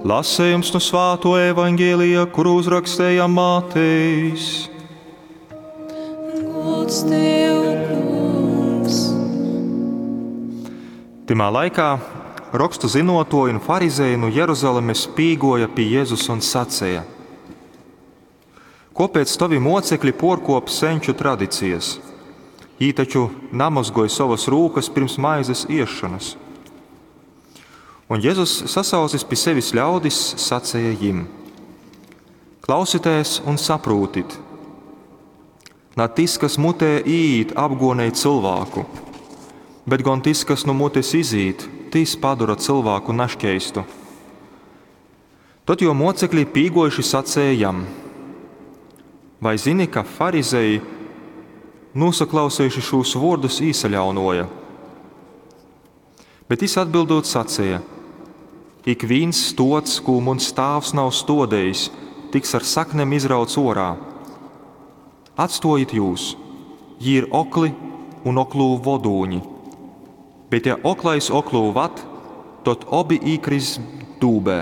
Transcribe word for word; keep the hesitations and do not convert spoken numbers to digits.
Lasejums nu svātuo evaņgelija, kuru uzrakstēja Matejs. Gods tev, Kungs! Tymā laikā rokstu zynuotuoji un farizeji nu Jeruzalemes pīguoja pi Jezus un saceja: Kuopēc tovi muocekļi puorkuop seņču tradicijas? Jī taču namozgoj sovas rūkas pirms maizes iesšonas. Un Jezus, sasaucis pi sevis ļaudis, saceja jim: Klausitēs un saprūtit! Na tys, kas mutē īīt, apguonej cylvāku, bet gon tys, kas nu mutes izīt, tys padora cylvāku naškeistu. Tod juo muocekļi pīguojuši saceja jam: Vai zini, ka farizeji, nūsaklausejuši šūs vuordus, īsaļaunuoja? Bet jis atbildūt saceja: Ikvīns stods, kū muns tāvs nav stuodejis, tiks ar saknem izrauts uorā. Atstuojit jūs, jī ir okli un oklū vodūņi. Bet ja oklais oklū vad, tod obi īkriss dūbē.